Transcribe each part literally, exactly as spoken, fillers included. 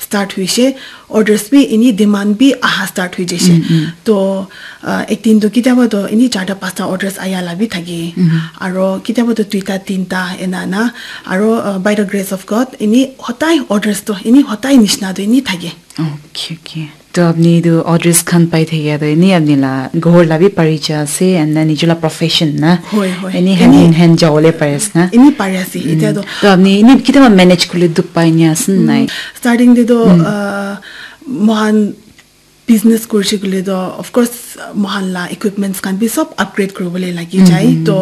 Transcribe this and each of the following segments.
start hoise, orders bi ini demand bi aha start hoi jaise. To uh, ek din to kitiaba to ini charta pasta orders aya la bi thake, aro kitiaba to duita tinta ena na, aro uh, by the grace of God ini hotai orders to ini hotai nishna to ini thake. Okay, okay. To apni tu orders khan pai thakia tu ini apni la ghor la bi pari ja ase and then nijor la profession na. Hoi, hoi. Ini hand in hand jawole pari ase na. Ini pari ase. Ita to. To apni ini kitiaba manage kule duk pai ni ase nai. Starting de to uh, mohan business kurise kule to of course mohan la equipments khan bi sob upgrade kuribole lagi jai. To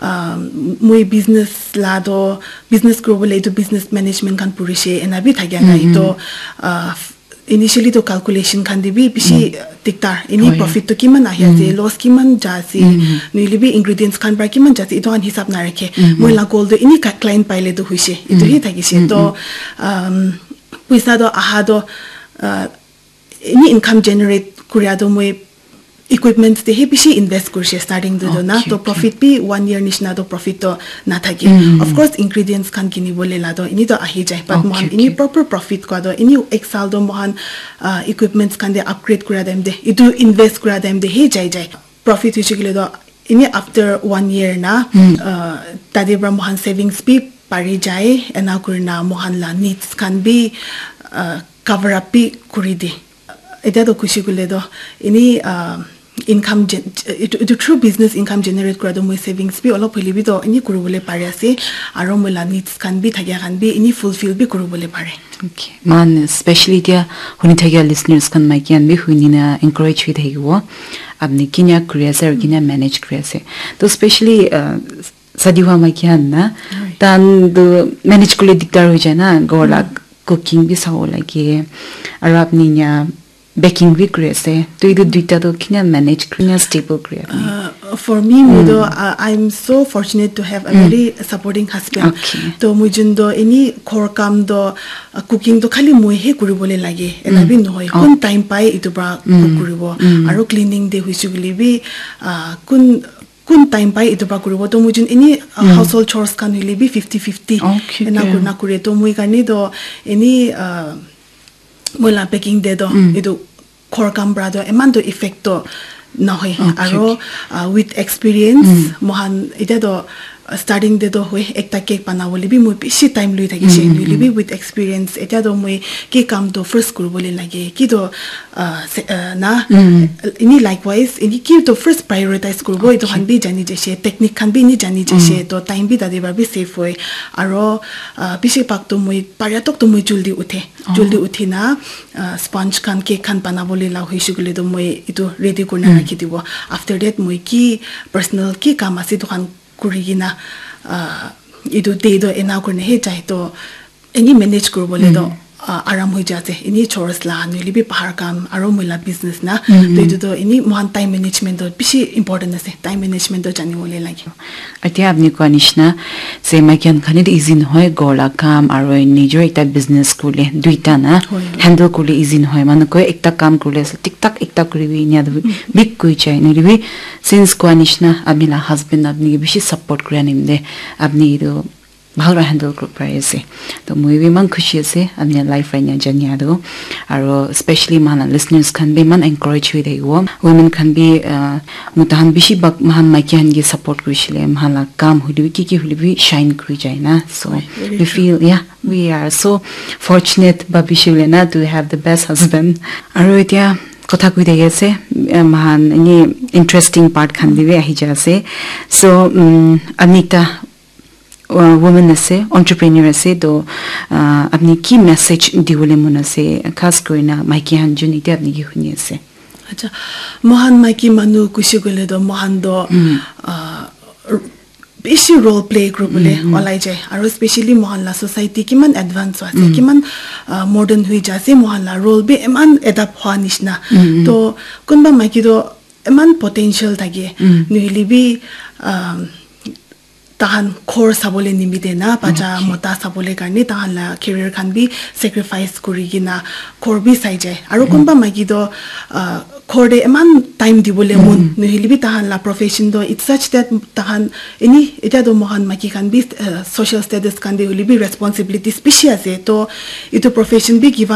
uh, moi business la to business kuribole itu business management khan purise ena bi thakia nai. To uh, initially to calculation khan de bi bishi diktar. Ini profit to kiman ahi ase, loss kiman ja ase, noile bi ingredients khan pra kiman ja ase, itu khan hisab na rakhe. Moi la goal to ini client paile to hoise. Itu hi thakise. To um, puisa to aha to uh, ini income generate kuria to moi equipments te hi bishi invest kurise starting to do na. To profit bi one year nishna to profit to na thake. Of course ingredients khan kini bole la to ini to ahi jai, but mohan ini proper profit kwa to ini ek sal to mohan uh, equipments khan de upgrade kura time de itu invest kura time de hi jai jai. Profit hoise kile to ini after one year na uh, tade pra mohan savings bi pari jai, ena kurina mohan la needs khan bi uh, cover up bi kuri de. Etiya to kushi kule to ini uh, income itu, itu through business income generate kura to moi savings bi olop hoile bi to ini kuribole pari ase, aro moi la needs khan bi thakia khan bi ini fulfill bi kuribole pare. Okay. Man specially tia huni thakia listeners khan maiki khan bi huni na encourage hui thakibo, apni kinya kuri ase aro kinya manage kuri ase. To specially uh, sadi hua maiki khan na tan to manage kule diktar hoi jai na, ghor la cooking bi sabo lage, aro apni nya baking bi kuri ase. To itu duita to kinya manage kuri na stable kuri apni? Uh, for me, moi to uh, I'm so fortunate to have a very supporting husband. Okay. To moi jun to ini ghor kam to uh, cooking to khali moi he kuribole lage ena bi nohoi, kun time pai itu pra cook kuribo, aro cleaning de hoise kule bi uh, kun kun time pai itu pra kuribo. To moi jun ini uh, household chores khan hoile bi fifty fifty ena kurina kure. To moi karne to ini uh, moi la baking de to itu ghor kam pra to eman to effect to nohoi. Aro uh, with experience mohan etiya to uh, starting de to hoi ekta cake banabole bi moi bishi time lui thakise. Noile bi with experience etiya to moi ki kam to first kuribole lage ki to uh, se- uh, na ini likewise ini ki to first prioritize kuribo itu khan bi jani jaise, technique khan bi ini jani jaise, to time bi tade pra bi save hoi. Aro uh, bishi bhag to moi paria tok to moi juldi uthe, juldi uthi na uh, sponge khan cake khan banabole la hoise kule to moi itu ready kurina rakhi dibo. After that moi ki personal ki kam ase itu khan kuri kina uh, itu day to ena kurina he jai to ini manage kuribole to uh, aram hoi jai ase. Ini chores la noile bi bahar kam aro moi la business na. To itu to ini mohan time management to bishi important ase. Time management to jani bole lage. Etiya apni koa nishina se maiki khan karne to easy nohoi, ghor la kam aro nijor ekta business kurle duita na handle kurle easy nohoi. Manu koi ekta kam kurle ase tik tak ekta kuribi inya to big koi jai. Noile bi since koa nishina apni la husband apni ke bishi support kuri anim de apni itu bhal para handle kuri pari ase. To moi bi eman khushi ase apni life para enia jania tu. Aro specially moikhan la listeners khan bi eman encourage hoi thakibo. Women khan bi uh, mota khan bishi bhag moikhan maiki khan ke support kurishile, moikhan la kam hoile bi ki ki hoile bi shine kuri jai na. So we feel, yeah, we are so fortunate, bhabi shile na, to have the best husband. Aro etia kotha koi thaki ase, uh, moikhan eni interesting part khan te bi ahi jai ase. So um, Anita, uh, woman ase, entrepreneur ase, to uh, apni ki message diwole mon ase, khas kurina maiki khan jun etia apni ki huni ase? Acha, moikhan maiki manu kushi koile to moikhan to uh, bishi role play kuribole olai jai, aro specially moikhan la society kiman advance ase, kiman uh, modern hui jai ase, moikhan la role bi eman adapt hua nishina. To kunba maiki to eman potential thake, nohile bi um, tahan ghor sabole nimite na, bacha mota sabole karne tahan la career khan bi sacrifice kuri kena ghor bi sai jai. Aro kunba maiki to uh, ghor te eman time dibole mon nohile bi tahan la profession to it's such that tahan eni etia to moikhan maiki khan bi uh, social status khan te hoile bi responsibilities bishi ase, to etu profession bi give up